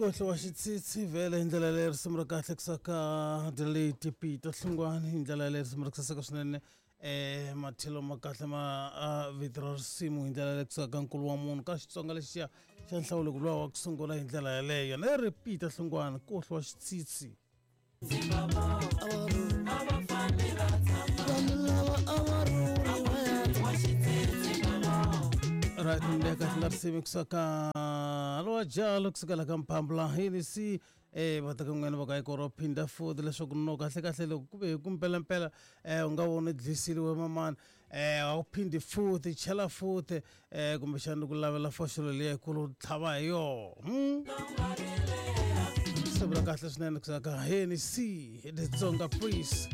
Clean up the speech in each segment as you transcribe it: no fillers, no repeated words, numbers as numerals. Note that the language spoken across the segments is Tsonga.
Kohlo wa xitsitsi vhele hi ndlela leyi risimu ra kahle kusaka delete Peter Hlungwani hi ndlela leyi risimu ra kusaseka swinene mathelo ma kahle ma vito ra risimu hi ndlela leyi kusaka nkulu wa munhu ka Xitsonga lexiya xa nhlawulo luwa wa ku sungula hi ndlela yaleyo na ri Peter Hlungwani kohlo wa xitsitsi. Right ndeka kahle la risimu kusaka lowa jalo kusukela ka mphambula hini si va ta ka n'wina va ka yi phinda futhi leswaku no kahle kahle loko ku ve hi ku mpelampela u nga vona dlisiliwe mamani a wu phindi futhi chela futhi kumbexana ku lavela foxolo leyikulu tlhava hi yoho. Swi vula kahle swinene kusaka heni si the Tsonga Priest.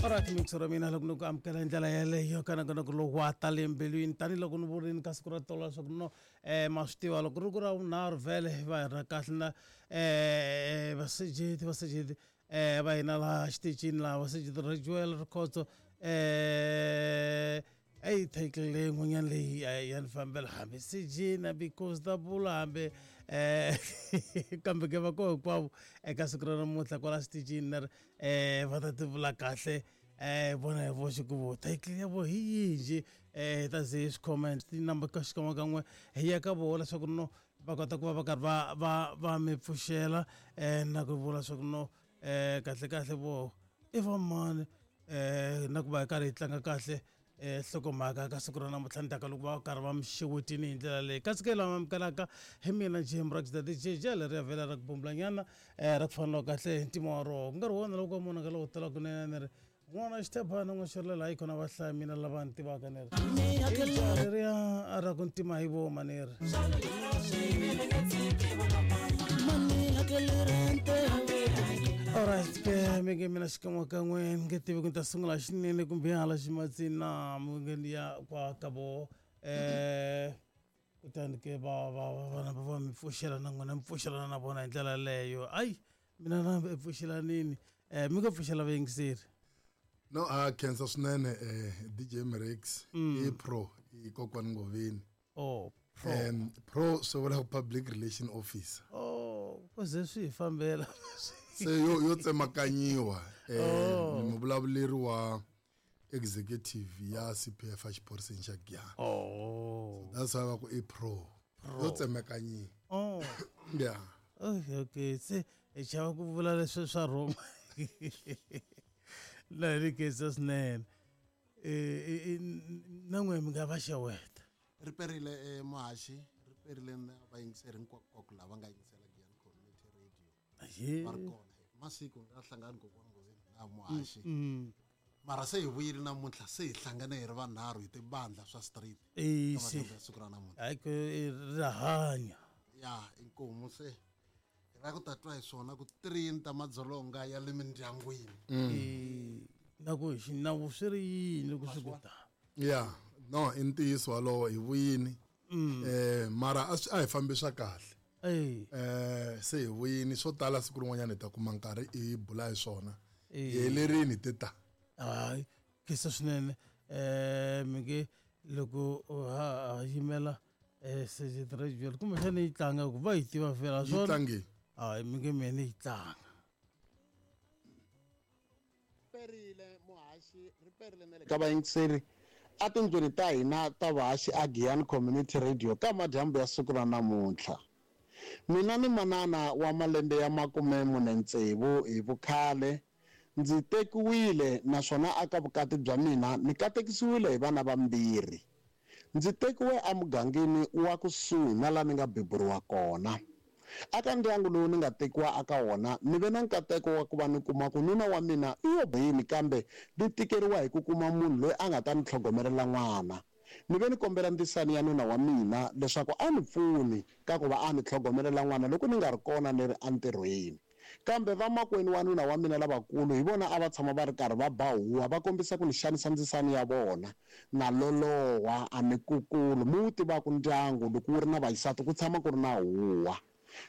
Alright mixo ra mina loko ni ku amukela hi ndlela yeleyo ka nongonoko lowu wa ta le mbilwini tanihiloko ni vurini ka siku ra tolo leswaku no ma swi tiva loko ri ku ra vunharhu vhele va hi ra kahle na vasejeti vasejeti va hina laha xitichini laha vasejeti ra Joel Rikhotso eyi title leyi n'wanyana leyi ya ni fambela hambi sejina because ta vula hambi kambe ke va koho hinkwavo eka siku ra namuntlha kwala xitichini na ri va ta ti vula kahle vona hi voxe ku vo title ya vo hi yihi njhe hi ta ze hi swi comment tinumber ka xikan'wekan'we hi ya ka voho leswaku no va kota ku va va karhi va va va mi pfuxela na ku vula leswaku no kahle kahle vo i va mani na ku va hi karhi hi tlanga kahle nhlokomhaka ka siku ra namuntlha ndzhaku loko va karhi va mi xewetini hi ndlela leyi kasi ke lama amukelaka hi mina Jim Rockstar DJ jele ri ya vhela ra ku bumbulanyana ra ku faneliwa kahle hi ntima wa roho ku nga ri wona loko wa munhu lowo tala kunene ni ri n'wana xithebana n'wa xirilela hayi khona va hlaya mina lava ni tivaka ni ri leriya ra ku ntima hi voma ni ri alright ke mi nge mina xikan'wekan'we ni nge tivi ku ni ta sungula xinene kumbe hala ximatsini na mi nge ni ya kwa ka vo kutani ke va va va vana va va mi pfuxela na n'wina mi pfuxelana na vona hi ndlela yaleyo ayi mina na pfuxelanini mi nga pfuxela vayingiseri. No a khensa swinene DJ Mrex i pro i kokwani Ngoveni. Oh pro. Pro swi vula public relation officer. Oh ku ze swi hi fambela. Se yo yo tsemakanyiwa ni muvulavuleri wa executive ya CPF a xiphoriseni xa Giyani. Oh. So that's why va ku i pro. Yo tsemekanyiwa. Oh. Yeah. Okay, okay. Se hi chava ku vula leswi swa Roma. La ri khensa swinene. Na n'we mi nga va xeweta. Ri perile muhaxi, ri perile na vayingiseri hinkwako lava nga yingisela Giyani Community Radio. Va ri kona masiku nga hlangani kokwana Ngoveni na muhaxi. Mara se hi vuyile namuntlha se hi hlangane hi ri vanharhu hi tibandla swa street. Isi. Siku ra namuntlha. Hayi ku ra hanya. Ya inkomu se hi lava ku ta twa hi swona ku trini ta madzolonga ya le mindyangwini. Na ku hi xinawu swi ri yini loko swi ku ta. Ya no i ntiyiso walowo hi vuyini. Mara a hi fambi swa kahle. Se hi vuyini swo tala siku rin'wanyana hi ta kuma nkarhi hi bula hi swona. Hi helerini te ta. Hayi khensa swinene mi nge loko ha yimela Sergeant Rachel kumbexana yi tlanga ku va yi tiva fela swona. Yi tlange. Hayi mi nge mina yi tlanga. Perile muhaxi ri perile na le ka vayingiseri a tindlwini ta hina ta vahaxi a Giyani Community Radio ka madyambu ya siku ra namuntlha. Mina ni manana wa malembe ya 46 hi vukhale ndzi tekiwile naswona aka vukati bya mina ni katekisiwile hi vana vambirhi. Ndzi tekiwe emugangeni wa kusuhi na laha ni nga beburiwa kona. Aka ndyangu lowu ni nga tekiwa aka wona ni ve na nkateko wa ku va ni kuma ku nuna wa mina i yo yini kambe ni tikeriwa hi ku kuma munhu loyi a nga ta ni tlhogomelela n'wana. Ni ve ni kombela ndzisani ya nuna wa mina leswaku a ni pfuni ka ku va a ni tlhogomelela n'wana loko ni nga ri kona ni ri entirhweni. Kambe vamakwenu wa nuna wa mina lavakulu hi vona a va tshama va ri karhi va ba huwa va kombisa ku ni xanisa ndzisani ya vona. Na loloha a ni kukulu mi wu tivaka ndyangu loko wu ri na vaxisati ku tshama ku ri na huwa.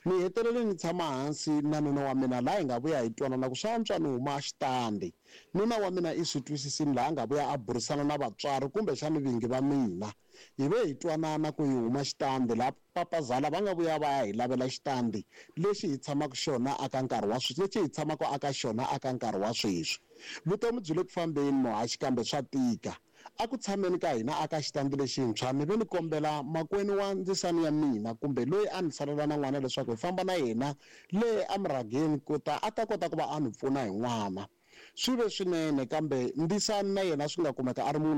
Ni hetelele ni tshama hansi na nuna wa mina laha hi nga vuya hi twanana ku swa antswa ni huma xitandi. Nuna wa mina i swi twisisini laha a nga vuya a burisana na vatswari kumbexani vingi va mina. Hi ve hi twanana ku hi huma xitandi laha papazala va nga vuya va ya hi lavela xitandi lexi hi tshamaka xona aka nkarhi wa sweswi lexi hi tshamaka aka xona aka nkarhi wa sweswi. Vutomi byi le ku fambeni muhaxi kambe swa tika. A ku tshameni ka hina aka xitandi lexintshwa ni ve ni kombela makwenu wa ndzisani ya mina kumbe loyi a ni salela na n'wana leswaku hi famba na yena le emurhageni ku ta a ta kota ku va a ni pfuna hi n'wana. Swi ve swinene kambe ndzisani na yena swi nga kumeka a ri munhu.